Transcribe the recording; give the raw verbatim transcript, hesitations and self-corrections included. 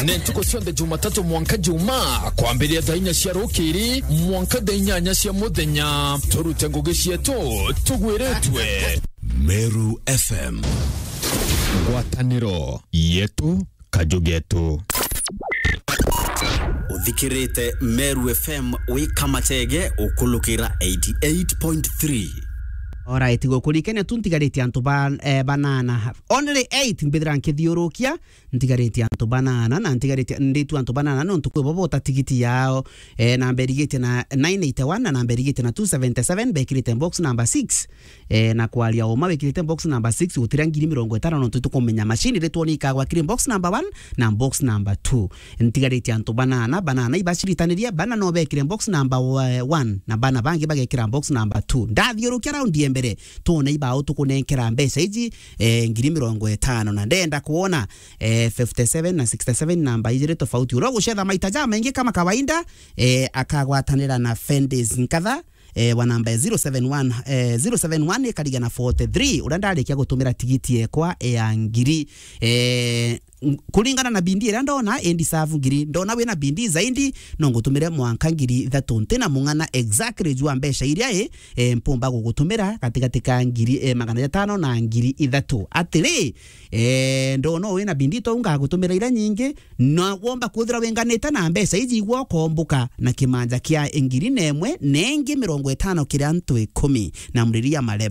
Ni ntuku cionthe Jumatatu mwanka Juma, kwambiria thaa inya cia rukiri mwanka thaa inyanya cia muthenya. Turute ngugi cietu tugwiritwe. Meru F M. Ngwataniro yetu, kaju getu. Uthikirite Meru F M wi Kamachege ukulukira eighty eight point three. Alright, gukurikania tu ntigarite antu ba, eh, banana. Only eight mbithira nkithiurukia, ntigarite antu banana, na ntigarite, nditu antu banana, nontu kwi bo bota tigiti yao. Eh, namba irigitie na nine eighty one na namba irigitie na two seventy seven, bekirite box number six. Eh, na kwaria uma, wikirite box number six, gutira ngiri mirongo itano, nontu tukumenya machine ritwoni ikagwa kiri box number one na box number two. Ntigarite antu banana, banana ibaciritanirie, bana no bekire box number wa-, one, na bana bangi bagekira box number two. Ndathiurukia raundi ya mbere, twone ibao tukunenkera mbeca iji, eh, ngiri mirongo itano, na ndenda kuona, eh, fifty seven na sixty seven namba ijiri tofauti. Uria ugucetha maita jamaingi kama kawaida, eh, akagwatanira na Fendis Nkatha, eh, wa namba ya zero seven one, eh, zero seven one ikariga na forty three, uria ndarikia gutumira tigiti yekwa ya ngiri. Eh, ng-, kuringana na bindi iria ndona, indi savu ngiri. Ndona wina bindi zaidi, no ngutumire mwanka ngiri ithatu. Ntina mung'ana exactly jwa mbeca iria i, eh, mpumba gugutumira gatigati ka ngiri, eh, magana jatano na ngiri ithatu. Atiri, eh, ndona wina bindi, to ngagutumira iria nyingi, na womba kwithira winganite na mbeca iji igwa ukombuka na kimanja kia ngiri na imwe na ingi mirongo itano kiri antu ikumi na muriria mare